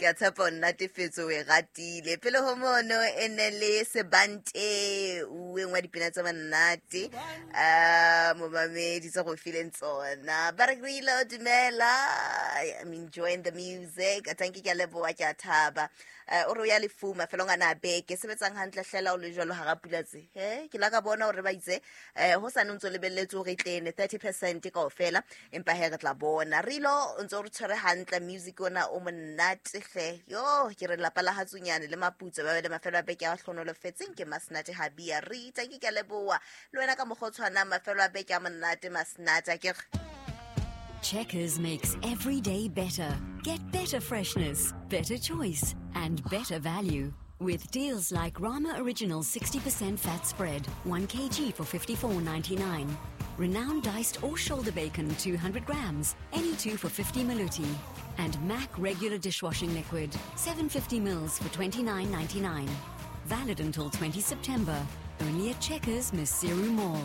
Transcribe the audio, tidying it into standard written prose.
Ke a tshepa o nnatefetse, o e ratile. Pele ho mono e ne le Sebante, o engwe wa dipina tse monate momamedi tse go fileng tsona. Ba re Grilo, dumela, I'm enjoying the music. Thank you, ke a leboha, ke a thaba. O re o ya lefu mafelong ana a beke, sebetsang hantle hlela o le jwalo hara pula tse. He, ke la ka bona hore ba itse ho sane o ntso lebelletse hore e tlene 30% kaofela, empa he re tla bona. Rilo o ntse o re tshwere hantle, music ona o monate hle. Yo, ke re lapa la Hatsunyane le Maputso ba be le mafelo a beke a hlonolofetseng. Ke Masnate Habia Rita, ke ke a leboha le wena ka mokgwa o tshwanang, mafelo a beke a monate Masnate, a ke re. Checkers makes every day better. Get better freshness, better choice, and better value. With deals like Rama Original 60% fat spread, 1 kg for 54.99. Renowned diced or shoulder bacon 200 grams, any two for 50 maluti. And Mac regular dishwashing liquid, 750 mils for 29.99. Valid until 20 September. Only at Checkers, Maseru Mall.